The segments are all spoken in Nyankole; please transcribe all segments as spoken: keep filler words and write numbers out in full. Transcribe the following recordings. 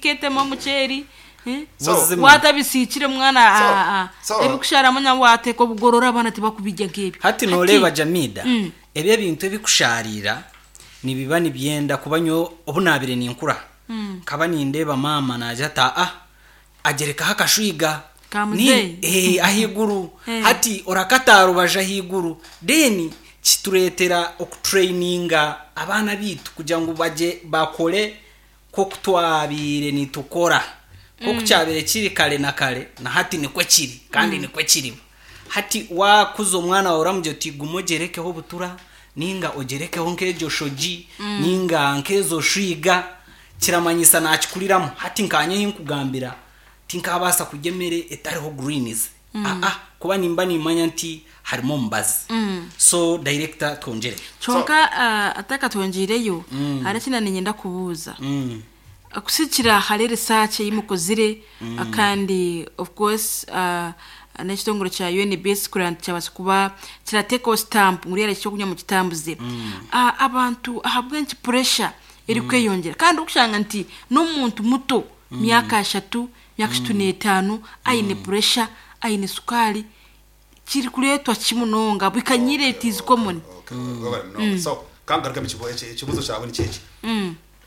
Oketema omuceeri, eh? So- Buzima. Watabisiikire mwana, So- ah, ah, so- ebikusharamu na wateeka obugorora, abaana tibakubirya nk'ebyo. Hati noreeba, Jamida, Mm. ebyo ebintu ebikusharira nibiba nibyenda kuba nyo obu nabire ninkura, nkaba nindeeba maama naija ata ah agerekaho akashwiga. Ka Ni- muzeeyi. eh, ahaiguru. Eh. Hati orakata rubaju ahaiguru, then kitureetera okutraininga abaana bitu kugira ngu bagye bakore nk'oku twabiire nitukora, nk'oku kyabire kiri kare na kare, na hati nikwe kiri kandi nikwe kiriba. Hati wakuza omwana wawe, oramugira oti guma ogerekeho obutura, ninga ogerekeho nk'egyo shogi, ninga nk'ezo shwiga, kiramanyisa nakikuriramu. Hati nkanye nkugambira, tinkabaasa kurya emere etariho greens, aa kuba nimba nimanya nti harimu omubazi. So director, twongere. Kyonka ah, atakatwongiireyo, hari ekindi niinyenda kubuuza. Mm. Kusikira hari research ei mukozire, kandi of course uh, n'ekitongore kya U N B S kurira nti kyabaasa kuba kirateekaho stamp ngu rero ekyokunywa mukitambuze. uh, abantu ahabw'enki pressure erikweyongyera, kandi okushanga nti n'omuntu muto, myaka ashatu, myaka ashatu n'etaano, aine pressure, aine sukaari, kiri kureetwa ki munonga bikanyire? It is common. Okay, webale munonga. So kangaruka ekibuzo kyawe nikyeki: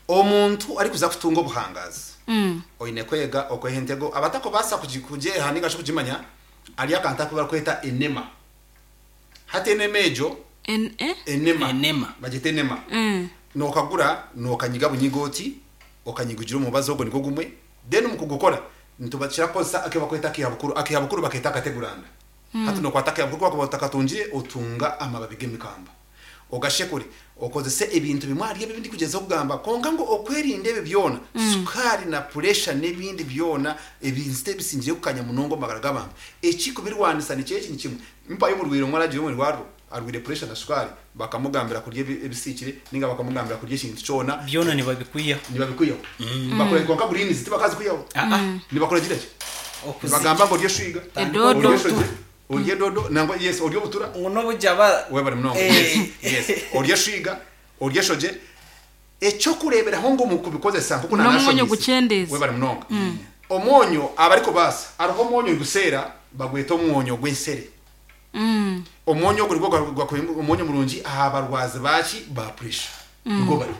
omuntu arikuza kutunga obuhangazi, oine kwega okweha entego. Abatakubaasa kugi- kugyeha ninga shi kugimanya, ari akantu aku barikweta enema. Hati enema egyo, En- eh? enema. Enema. Bagita enema. Mm. Nokagura, nokanyiga bunyiga oti, okanyigugira omubazi ogwo nigwo gumwe. Then mu kugukora nitubakira kukozesa ake bakweta akihabukuru. Akihabukuru baketa akateguranda. Hati nokwata akihabukuru, kwakuba otakatungire, otunga amababi g'emikamba, ogashekure, okozese ebintu bimwe ahari ebi ndikugyeza kugamba. Konka ngu okwerinda ebyo byona, sukaari na pressure n'ebindi byona ebintu ebisingire kukanya munonga omu magara g'abantu, ekikubirwanisa nikyo eki ni kimwe. Mpayo omurwaire omwe aragira omu rwariro, arwire pressure na sukaari, bakamugambira kurya ebi- ebisiikire, ninga bakamugambira kurya ekintu kyona. Byona nibabikwiyaho. Nibabikwiyaho. Bakora konka greens tibakazikwiyaho. Ah, ah. Nibakora gira ki? Okuzi- Nibagamba ngo orye shwiga, Edodo. orye shogi, orye dodo, nangwa yes, orye obutura. Ngu n'obujya ba Webale munonga. Eh. yes yes orye shwiga, orye shoge. Ekyokureberaho ngu mu kubikozesa nkuko N'omwonyo nanashomise. gucyendeeza. Webale munonga. Omwonyo abariko basa, hariho omwonyo guseera, bagweta omwonyo gw'ensere. Mm. Omwonyo ogwo nigwo gwa- omwonyo murungi aha barwazi baki ba pressure, nigwo bariho.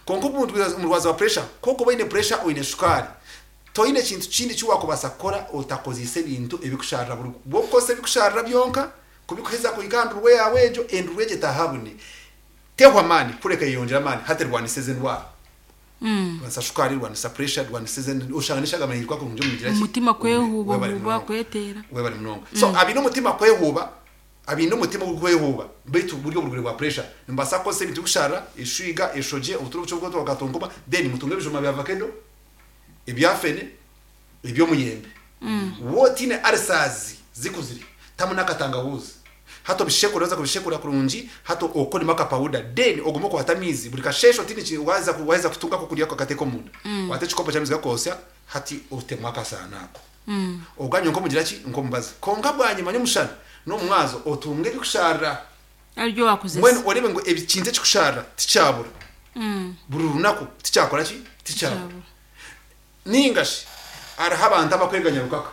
Konka omuntu omurwazi wa pressure, koko oine pressure, oine shukaari, toine kintu kindi kiwakubasa kukora otakozesa ebintu ebikusharira. Buri bwokukozesa ebikusharira byonka kubikuheza kuhika ndurwe yawe egyo, endurwe egyo etahabune tehwa amaani, kureka yeyongera amaani. Hati rwanisa ezi endwara, Mm. rwanisa shukaari, rwanisa pressure, rwanisa ezi, oshanga n'eshagama yirwa kurungi omugira ki? Omutima kwehuba Webale huba, munonga. kweteera. Webale munonga. So abine omutima kwehuba, abine omutima gukwehuba, baitu buri oburwaire bwa pressure, nimbaasa kukozesa ebintu bikusharira, eshwiga, eshoje, obuturo bucho bwoto bwakatonkoma. Then mutunge ebijuma bya avocado, ebya fene, eby'omuyembe. Wotine ulcers zikuzire, tamu n'akatangawuzi. Hato bishekura, waza kubishekura kurungi, hato okoremo akapawuda, then ogume okwata amizi buri kashesho. Tini ki- waza ku- waheza kutunga ko kurya kakateka omunda, wate ekikopo ky'amizi gakosya, hati otemu akasaano ako, oganywa nkomugira ki, nkomubazi. Konka bwanyima nyomushana n'omumwazo otunge ebikusharira. Aribyo wakozesa. Mbwenu orebe ngu ekintu ekikusharira tikyabura Mm. buri runaku, tikyakora ki, tikyabura. Tikyabura. Ningashi hariho abantu abakweganya rukaka,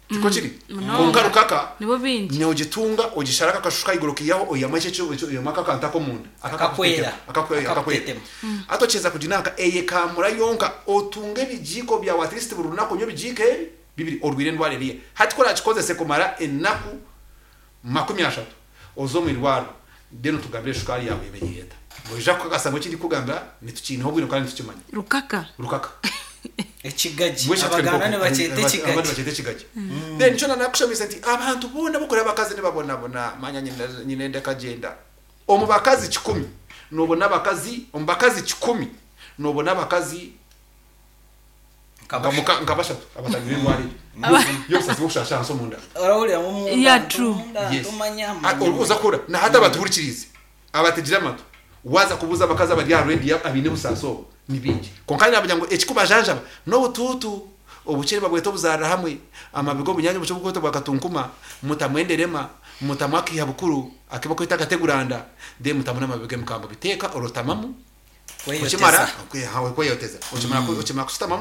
tiko kiri? Munonga. Konka rukaka Nibo bingi. nogitunga, ogisharako akashushu kaiguru, kiyaho oyama ekyo ekyo, oyama akakantu akomunda. Akakwera. Akakwera, akakwera. Akakutetema. Ate okyeza kuginanka eyekamura yonka, otunga ebijiiko byawe, at least buri lunaku onywa ebijiiko ebi bibiri. Orwire endwara eriye, hati korakikozese kumara enaku makumi ashatu, oze omu irwariro, then otugambire eshukaari yawe ebe yeta. Noija kukakasa ngu ekindi kugambira nitukiineho obwire kandi nitukimanya. Rukaka. Rukaka. Ekigagi. Mbwenu Abaganda nibakyeta abandi ekigagi. bakyeta ekigagi. Then nikyo nanakushamisa nti abantu boona bokora, abakazi nibabonabona. Manya nyine- nyine ndekagenda omu bakazi kikumi, nobona abakazi, omu bakazi kikumi nobona abakazi nka muka- nka bashatu abatangire endwara eyo y'obusasi bwokushasha ahansi omunda. Orahurira nko munda. Yeah, true. Yes. Tumanya. Ah, uza kuhura na hati abatuhurikirize abategire amatu, waza kubuza abakazi abari aha rwedi abaine obusaasi obu, ni bingi. Konka nabagira ngu ekikubajanjaba n'obutuutu, obukere babweta obuzarira hamwe, amabi g'obunyanya obuco bwota bwakatunkuma, mutamwenderema, mutamu akiha bukuru akibakweta akateguranda, then mutamu n'amabi g'emikambo, biteeka orotamamu, okimara kweyoteza, okimara okimara kusutamamu.